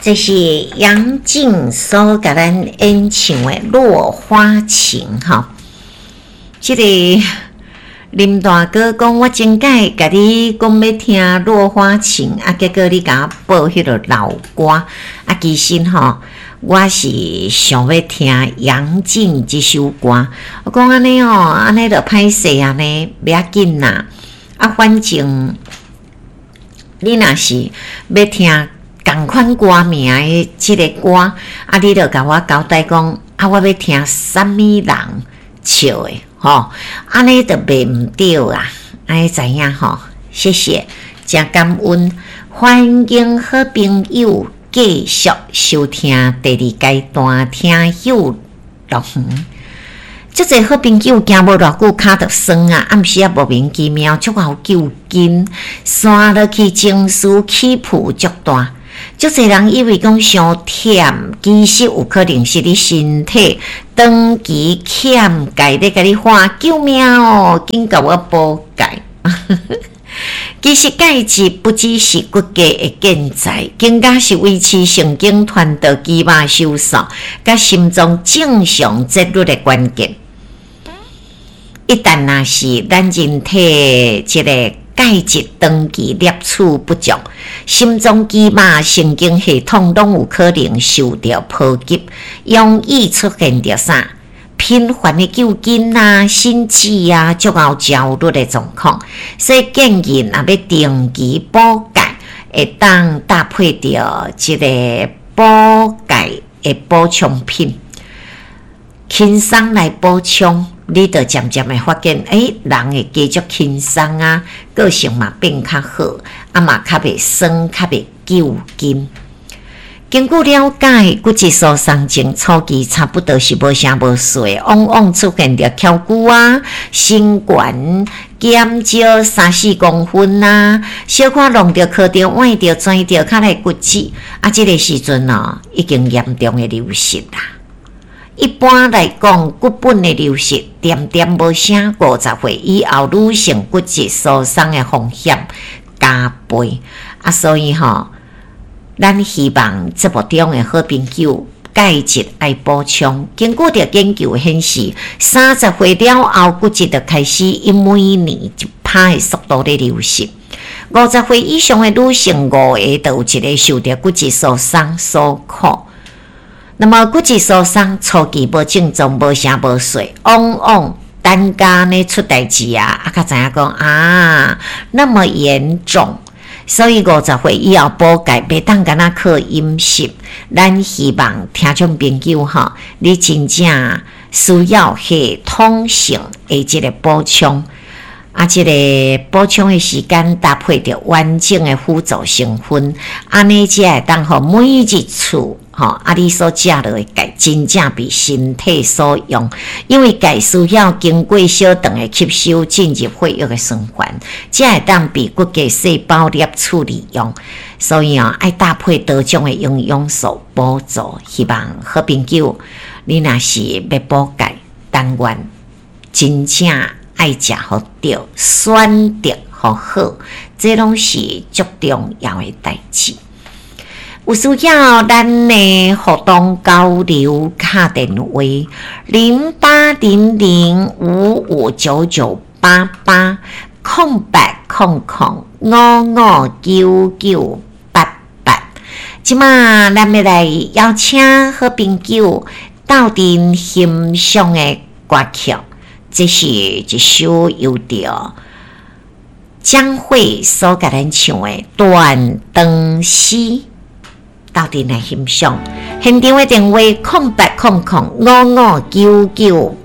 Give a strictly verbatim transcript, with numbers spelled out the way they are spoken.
這是楊靜所共咱演唱的《落花情》吼。這個林大哥講，我前擺共你講欲聽《落花情》，啊，結果你共我播彼个老歌，啊，其實吼，我是想欲聽楊靜這首歌。我講按呢哦，按呢就歹勢按呢，袂要緊啦。啊，反正你若是欲聽仝款歌名的這个歌，啊，你就共我交代講，啊，我欲聽啥物人唱的，吼，按呢就袂毋著啊，按呢知影吼？謝謝，誠感恩，歡迎好朋友繼續收聽第二階段聽友樂園。足濟好朋友行無偌久，跤就酸啊，暗時仔莫名其妙足𠢕揪筋，紲落去情緒起伏足大。足濟人以為講傷忝，其實有可能是你身體長期欠鈣咧，共你喊救命哦！緊共我補鈣。其實鈣質不只是骨骼的建材，更加是維持神經傳導、肌肉收縮、佮心臟正常節律的關鍵。一旦若是咱人體這个鈣質長期攝取不足，心臟、肌肉、神經系統攏有可能受著波及，容易出現著啥？頻繁的揪筋啊、心悸啊、足𠢕焦慮的狀況。所以建議若欲定期補鈣，會當搭配著這个補鈣的補充品，輕鬆來補充。你就漸漸會發現，欸，人會加足輕鬆啊，個性嘛變較好，啊嘛較袂酸，較袂揪筋。根據了解，骨質疏鬆症初期差不多是無聲無息，往往出現著蹺骨啊、身懸減少三四公分啊，小可弄著、磕著、崴著、跩著，較來骨折。啊，這个時陣哦，已經嚴重的流失啦。一般來講，骨本的流失，恬恬無聲，五十歲以後，女性骨質疏鬆的風險加倍。啊，所以吼，咱希望節目中的好朋友鈣質愛補充。根據著研究顯示，三十歲了後，骨質就開始以每年一趴的速度咧流失。五十歲以上的女性，五個就有一個受著骨質疏鬆所苦。那麼骨質疏鬆初期無症狀、無聲無息，往往等甲呢出代誌啊，啊，才知影講啊，那麼嚴重。所以五十歲以後補鈣，袂當干焦靠飲食。咱希望聽眾朋友吼，你真正需要系統性的這个補充，啊，這个補充的時間搭配著完整的輔助成分，按呢才會當予每一次吼，啊，你所食落的鈣真正被身體所用，因為鈣需要經過小腸的吸收，進入血液的循環，才會當被骨骼細胞攝取利用。所以啊，愛搭配多種的營養素補助。希望好朋友，你若是欲補鈣，但願真正愛食予著，選擇予好，這攏是足重要的代誌。有需要咱的互動交流，敲電話零八零零五五九九八八空八空空五五九九八八。這馬咱欲來邀請好朋友鬥陣欣賞的歌曲，這是一首由著江蕙所共咱唱的《斷腸詩》。鬥陣來欣賞，現場的電話空八空空五五九九。